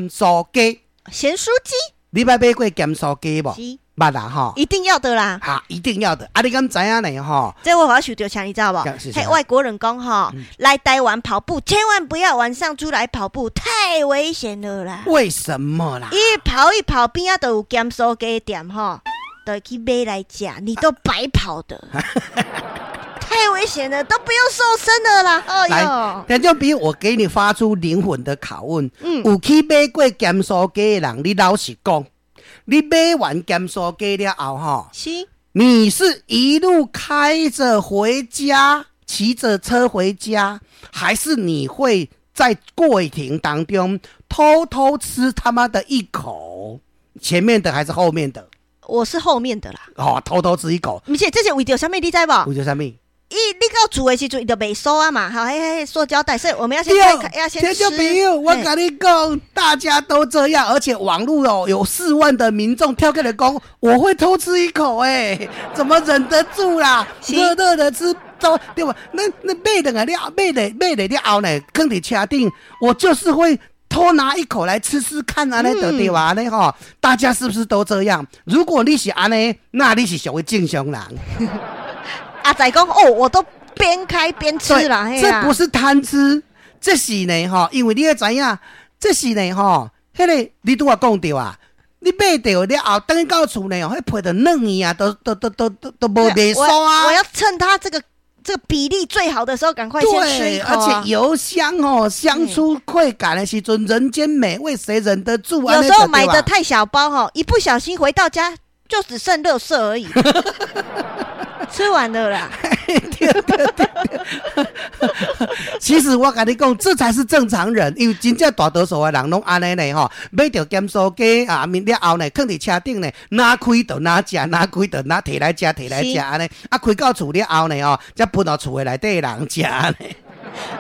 酥雞。鹹酥雞。你捌買過鹹酥雞無？是。捌啦吼。一定要的啦。哈，一定要的。啊，你敢知影呢？吼，這我好受著啥，你知道無？嘿，外國人講吼，來台灣跑步千萬不要晚上出來跑步，太危險了啦。為什麼啦？一跑一跑邊仔都有鹹酥雞店吼，都會去買來食，你都白跑的。太危險了，都不用瘦身的啦！哎來，聽眾朋友，我給你發出靈魂的拷問。有去買過鹹酥雞的人，你老實講，你買完鹹酥雞了後，吼，你是一路開著回家，騎著車回家，還是你會在過程當中偷偷吃他媽的一口？前面的還是後面的？我是後面的啦。哦，偷偷吃一口。毋是，這是為著啥物？你知無？為著啥物？伊你到厝的時陣，伊就袂酥啊嘛，好，彼彼塑膠袋，所以我們要先開開，要先吃。聽眾朋友，我共你講，大家都這樣，而且網路哦有4萬的民眾跳起來講，我會偷吃一口，欸，怎麼忍得住啦？熱熱的吃，都對吧？那買轉來了，買來買來了後呢，囥佇車頂，我就是會偷拿一口來吃吃看按呢就對吧？按呢吼，大家是不是都這樣？如果你是按呢，那你是屬於正常人。阿仔講哦，我都邊開邊吃啦。這不是貪吃，這是呢吼，因為你愛知影，這是呢吼，彼個你拄仔講著啊，你買著了後，轉到厝呢，彼皮就軟去啊，都都都都都都無袂酥啊。我要趁它這個比例最好的時候，趕快先吃一口啊。而且油香哦，香出快感的時陣，人間美味誰忍得住啊？有時候買的太小包吼，一不小心回到家就只剩垃圾而已。吃完了啦。對對對對。其實我共你講，這才是正常人，因為真正大多數的人攏按呢呢吼，買著鹹酥雞啊，面了後呢，囥佇車頂呢，哪開就哪食，哪開就哪提來食，提來食按呢，啊開到厝了後呢吼，才分予厝的內底人食按呢。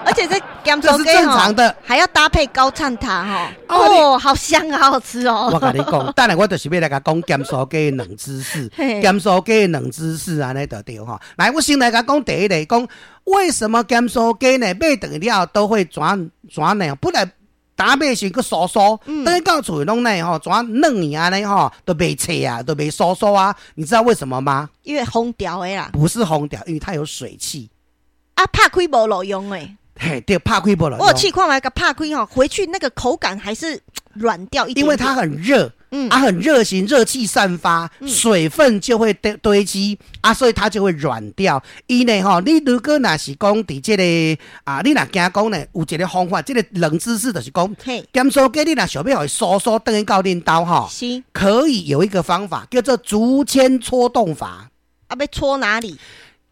而且這鹹酥雞正常的，還要搭配高暢塔吼，哦，好香啊，好好吃哦。我共你講，等下我就是欲來共講鹹酥雞的冷知識，鹹酥雞的冷知識按呢就對吼。來，我先來共講第一個，講為什麼鹹酥雞呢買轉來了都會轉轉呢？本來打買時閣酥酥，轉到厝攏呢吼，轉軟去按呢吼，都袂脆啊，都袂酥酥啊。你知道為什麼嗎？因為風調的啦。不是風調，因為它有水汽。啊，拍開無路用的。嘿，對，拍開無路用。我有試看覓共拍開吼，回去那個口感還是軟掉一點點。因為它很熱，啊，很熱情，熱氣散發，水分就會堆堆積啊，所以它就會軟掉。伊呢吼，你如果若是講佇這個啊，你若驚講呢，有一個方法，這個冷知識就是講，鹹酥雞你若想欲予伊酥酥轉去到恁兜吼，可以有一個方法叫做竹籤戳洞法。啊，欲戳哪裡？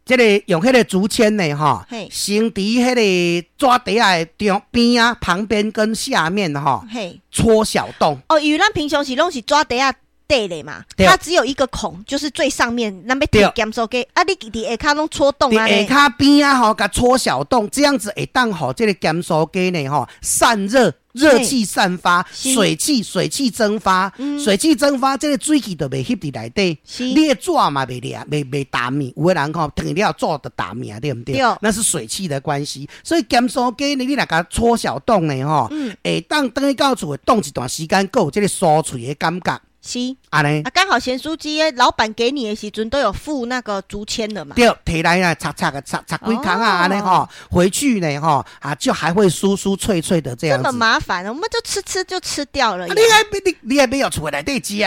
這個用彼個竹籤呢，吼，先佇彼個紙袋仔的中邊仔旁邊跟下面吼，戳小洞。哦，因為咱平常時攏是紙袋仔底的嘛，它只有一個孔，就是最上面咱欲提鹹酥雞啊，你佇下跤攏戳洞啊。下跤邊仔吼，共戳小洞，這樣子會當予這個鹹酥雞呢，吼，散熱。熱氣散發，水氣蒸發，水氣蒸發，這個水汽就袂翕佇內底，你的紙嘛袂涼，袂澹去。有的人吼，轉了紙就澹去啊，對毋對？那是水汽的關係。所以鹹酥雞呢，你若共戳小洞呢，吼，會當轉去到厝會凍一段時間，閣有這個酥脆的感覺。是，按呢，啊，剛好鹹酥雞老闆給你的時陣都有附那個竹籤的嘛。對，提來啊，插插個插插幾空啊，按呢吼，回去呢吼，啊，就還會酥酥脆脆的這樣子。這麼麻煩，我們就吃吃就吃掉了。你還你還沒有厝內底食，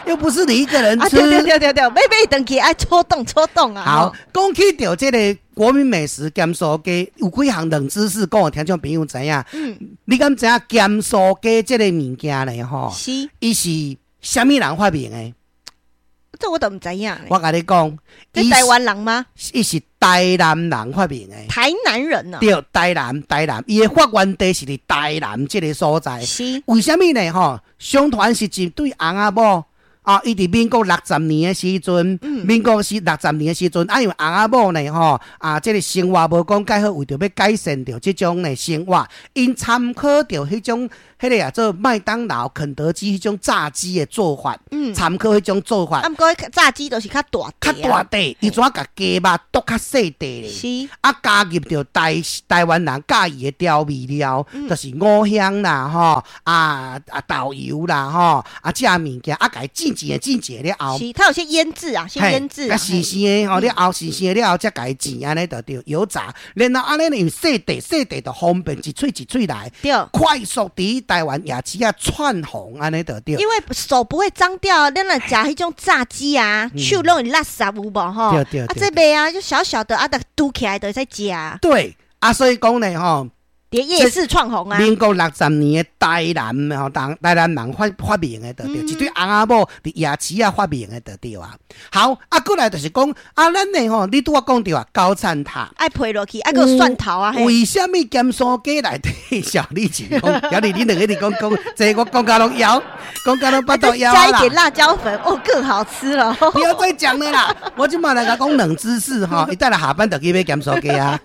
又不是你一個人吃。對對對對對，買買轉去愛戳洞戳洞啊。好，講起著這個國民美食鹹酥雞，有幾項冷知識，講予聽眾朋友知影。你敢知影鹹酥雞這個物件呢？吼，伊是啥物人發明的？這我都毋知影。我共你講，這台灣人嗎？伊是台南人發明的。台南人啊？對，台南，台南，伊的發源地是佇台南這個所在。為啥物呢？吼，相傳是一對翁仔某。啊，伊佇民國六十年的時陣，民國是六十年的時陣，啊，因為翁仔某呢吼，啊，這個生活無講蓋好，為著欲改善著這種呢生活，𪜶參考著彼種彼個啊做麥當勞、肯德基彼種炸雞的做法，參考彼種做法。啊，毋過炸雞都是較大較大塊，伊怎共雞肉剁較細塊咧？啊，加入著台灣人佮意的調味料，就是五香啦，吼，啊啊豆油啦，吼，啊這物件啊，共伊煎煎的煎煎了後，是，它有些醃製啊，先醃製啊，生生的吼，了後生生的了後才共伊煎按呢就對，油炸，然後按呢因為細塊細塊就方便一喙一喙來，快速佇台灣夜市仔竄紅按呢就對。因為手不會髒掉，咱若食彼種炸雞啊，手攏會垃圾有無吼？對對。啊，這袂啊，就小小的啊，就拄起來就會使食。對，啊，所以講呢吼。佇夜市竄紅啊！民國六十年的台南吼，台南人發明的，對，一對翁仔某佇夜市仔發明的，對啊。好，啊，過來就是講啊，咱的吼，你拄仔講著啊，高層塔愛配落去，啊，閣有蒜頭啊。為啥物鹹酥雞內底小李子講？小李，你兩個一直講講，這我講甲攏枵，講甲攏腹肚枵啦。加一點辣椒粉，哦，更好吃了。不要再講了啦，我這馬來共講冷知識吼，伊等下下班就去買鹹酥雞啊。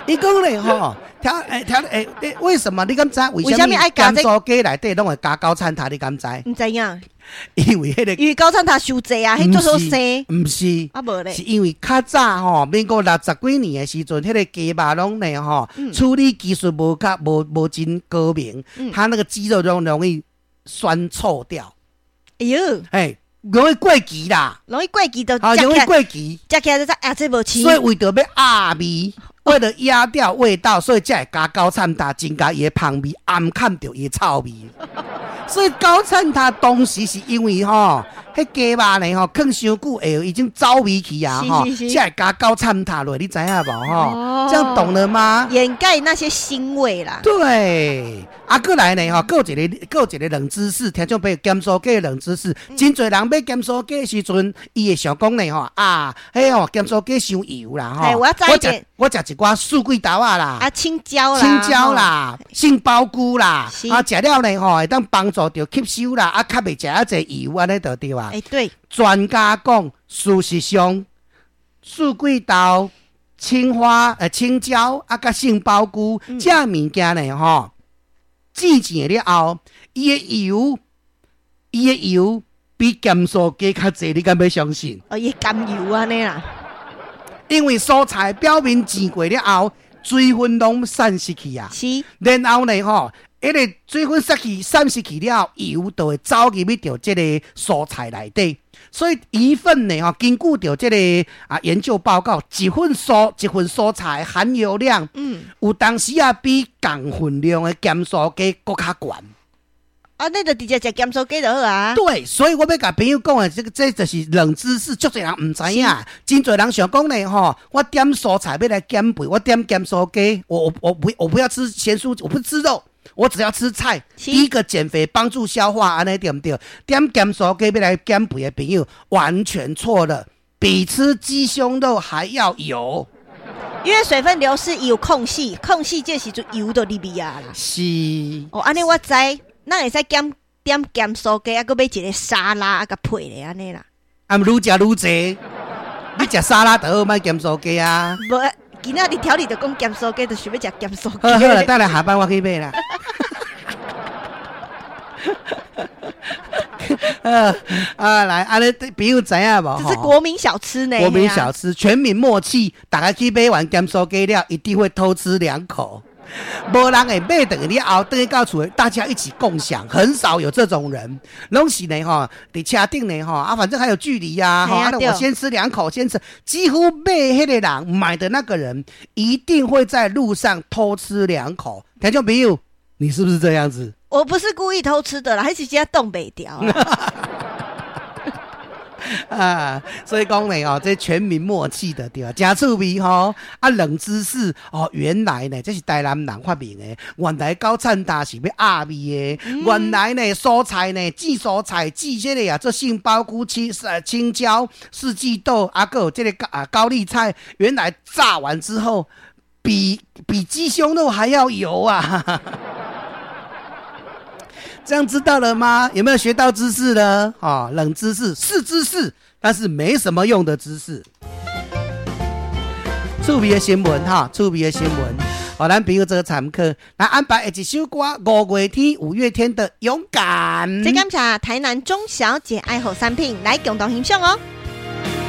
伊講咧吼。聽欸聽欸，為什麼你敢知？為啥物鹹酥雞內底攏會加高層塔？你敢知？毋知影。因為彼個，因為高層塔傷濟啊，彼足好生。毋是，啊無咧，是因為較早吼，民國六十幾年的時陣，彼個雞肉攏呢吼，處理技術無較無無真高明，它那個雞肉攏容易酸臭掉。哎喲，欸，容易過期啦，容易過期就啊，容易過期，食起來就知啊，這無鮮。所以為著欲壓味。為了壓掉味道，所以才會加高層塔，增加伊的芳味，掩蓋著伊的臭味。所以高層塔當時是因為吼，彼雞肉呢吼，囥傷久會已經走味去啊吼，才會加高層塔落，你知影無吼？這樣懂了嗎？掩蓋那些腥味啦。對，啊，過來呢吼，閣有一個，閣有一個冷知識，聽眾朋友，鹹酥雞冷知識，真濟人買鹹酥雞的時陣，伊會想講呢吼，啊，彼吼鹹酥雞傷油啦吼，我要加一點，我食一寡四季豆仔啦，啊，青椒啦，青椒啦，杏鮑菇啦，啊，食了呢吼，會當幫助著吸收啦，啊，較袂食遐濟油按呢就對啊。欸，對，專家講，事實上，四季豆、青花、青椒啊，佮杏鮑菇，這物件呢吼，煎煎了後，伊的油比鹹酥雞較濟，你敢欲相信？哦，伊甘油按呢啦。因為蔬菜表面煎過了後，水分攏散失去啊。然後呢吼，彼個水分失去、散失去了後，油就會走入去著這個蔬菜內底。所以一份呢吼，根據著這個啊研究報告，一份蔬菜含油量，有當時啊比仝份量的鹹酥雞閣較懸。啊，那就直接食鹹酥雞就好啊。對，所以我欲共朋友講的，這個這就是冷知識，足濟人毋知影。真濟人想講呢，吼，我點蔬菜欲來減肥，我點鹹酥雞，我不要吃鹹酥，我不吃肉，我只要吃菜。第一個減肥，幫助消化，按呢對毋對？點鹹酥雞欲來減肥的朋友，完全錯了，比吃雞胸肉還要油。因為水分流失有空隙，空隙這時陣油就入去啊啦。哦，按呢我知。咱會使減點鹹酥雞，啊，閣買一個沙拉啊，共配咧按呢啦。啊，愈食愈濟，你食沙拉就好，莫鹹酥雞啊。無，今仔日調理就講鹹酥雞，就想欲食鹹酥雞。好好啦，等下下班我去買啦。啊，來，按呢朋友知影無？這是國民小吃呢。國民小吃，全民默契，大家去買完鹹酥雞了，一定會偷吃兩口。無人會買轉去了後，轉去到厝，大家一起共享，很少有這種人。攏是呢吼，佇車頂呢吼，啊，反正還有距離呀，吼，啊，我先吃兩口，先吃。幾乎買彼個人買的那個人，一定會在路上偷吃兩口。聽眾朋友，你是不是這樣子？我不是故意偷吃的啦，彼時真擋袂牢。啊，所以講呢，哦，這全民默契的對吧？誠趣味吼，啊，冷知識哦，原來呢，這是台南人發明的，原來高層塔是欲壓味的，原來呢，蔬菜呢，煮蔬菜煮這個啊，做杏鮑菇、青椒、四季豆，啊，閣有這個高麗菜，原來炸完之後，比雞胸肉還要油啊！這樣知道了嗎？有沒有學到知識呢？啊，冷知識是知識，但是沒什麼用的知識。趣味的新聞哈，趣味的新聞，予咱朋友做參考。來安排一首歌，五月天，五月天的《勇敢》。這感謝台南鍾小姐愛好產品來共同欣賞哦。